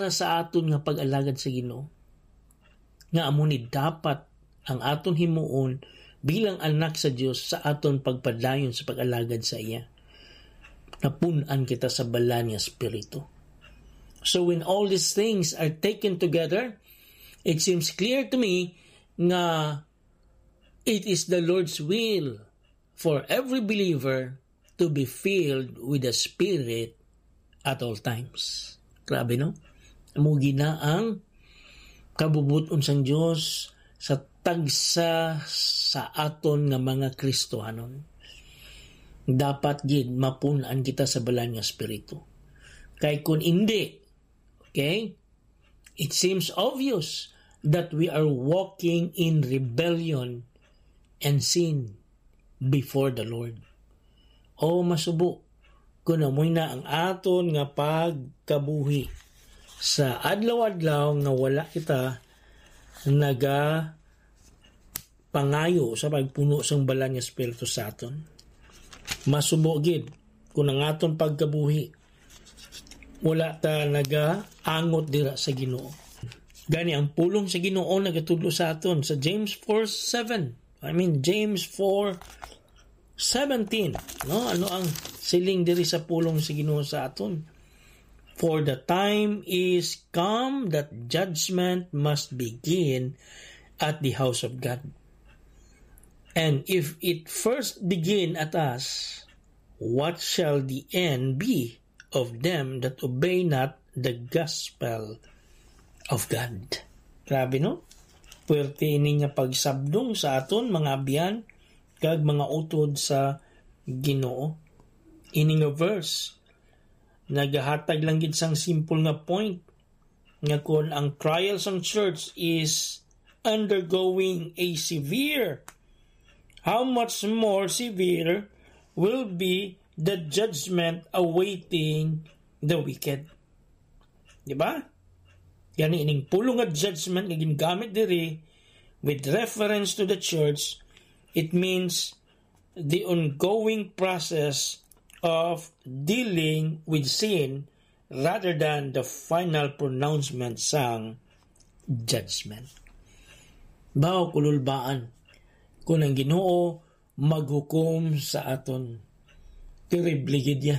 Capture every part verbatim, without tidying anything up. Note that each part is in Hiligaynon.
sa aton nga pag-alagad sa Ginoo, nga amo ni dapat ang aton himuon bilang anak sa Dios sa aton pagpadayon sa pag-alagad sa iya. Napun-an kita sa Balaan nga Espiritu. So when all these things are taken together, it seems clear to me nga it is the Lord's will for every believer to be filled with the Spirit at all times. Grabe, no? Amo gina ang kabubut-on sang Dios sa tagsa sa aton nga mga Kristohanon. Dapat gid mapun-an kita sa Balaan nga Espiritu. Kay kun indi, okay, it seems obvious that we are walking in rebellion and sin before the Lord. O masubo, kun amoy na ang aton nga pagkabuhi sa adlaw-adlaw nga wala kita naga pangayo sa pagpuno sang Balaan nga Espiritu sa aton. Masubo gid, kung ang aton pagkabuhi, wala ta nagaangot dira sa Ginoo. Gani ang pulong sa Ginoo nagatudlo sa aton sa James four seven. I mean, James four seventeen, no? Ano ang siling diri sa pulong sa Ginoo sa aton? "For the time is come that judgment must begin at the house of God. And if it first begin at us, what shall the end be of them that obey not the gospel of God?" Grabe, no? Puwerte ini nga pagsabdong sa aton, mga abyan kag mga utod sa Ginoo. Ini nga verse nagahatag lang gid sang simple nga point nga kon ang trial sang church is undergoing a severe, how much more severe will be the judgment awaiting the wicked? Di ba? Gani, ining pulong nga judgment nga gingamit diri with reference to the church, it means the ongoing process of dealing with sin rather than the final pronouncement sang judgment. Baw kululbaan, kung ang Ginoo maghukom sa aton, terrible gid ya.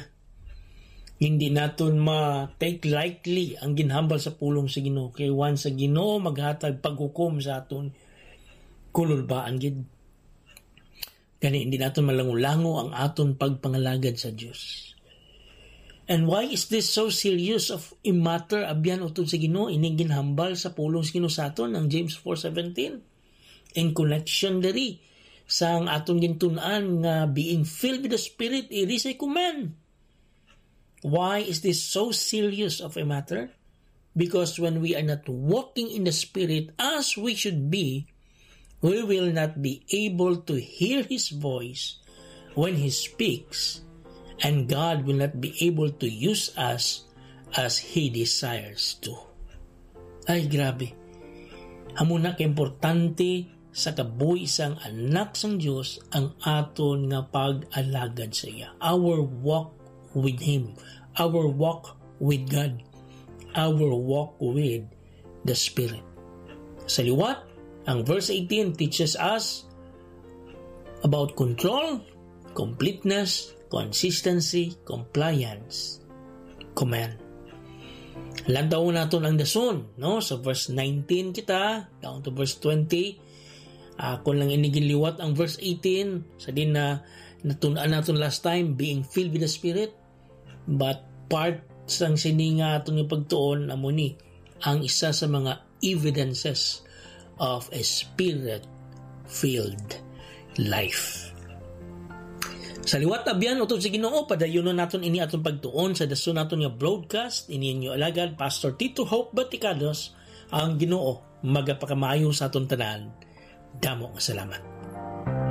Hindi naton ma-take lightly ang ginhambal sa pulong sa Ginoo. Kay once ang Ginoo maghatag paghukom sa aton, kululbaan gid. Gani, hindi naton malango-lango ang aton pagpangalagad sa Dios. And why is this so serious of a matter, abyan, utod sa Ginoo, ining ginhambal sa pulong sa Ginoo sa aton, ang James four seventeen? In connection diri sa ang aton gintun-an nga being filled with the Spirit, it is a command. Why is this so serious of a matter? Because when we are not walking in the Spirit as we should be, we will not be able to hear His voice when He speaks, and God will not be able to use us as He desires to. Ay, grabe. Amo na kaimportante sa kabuhi sang Anak sang Dios ang aton nga pag-alagad sa iya. Our walk with Him. Our walk with God. Our walk with the Spirit. Sa liwat, ang verse eighteen teaches us about control, completeness, consistency, compliance, command. Lantawon naton ang dason, no? Sa verse nineteen kita, down to verse twenty. Ah, kung lang ini ginliwat ang verse eighteen, sa din na natun-an naton last time, being filled with the Spirit. But part sang sini nga aton nga pagtuon, amo ni ang isa sa mga evidences of a Spirit-filled life. Sa liwat, abyan, utod sa Ginoo, padayunon naton ini aton pagtuon sa dason naton nga broadcast. Ini inyo alagad, Pastor Tito Hope Baticados. Ang Ginoo magapakamayo sa aton tanan. Damo nga salamat.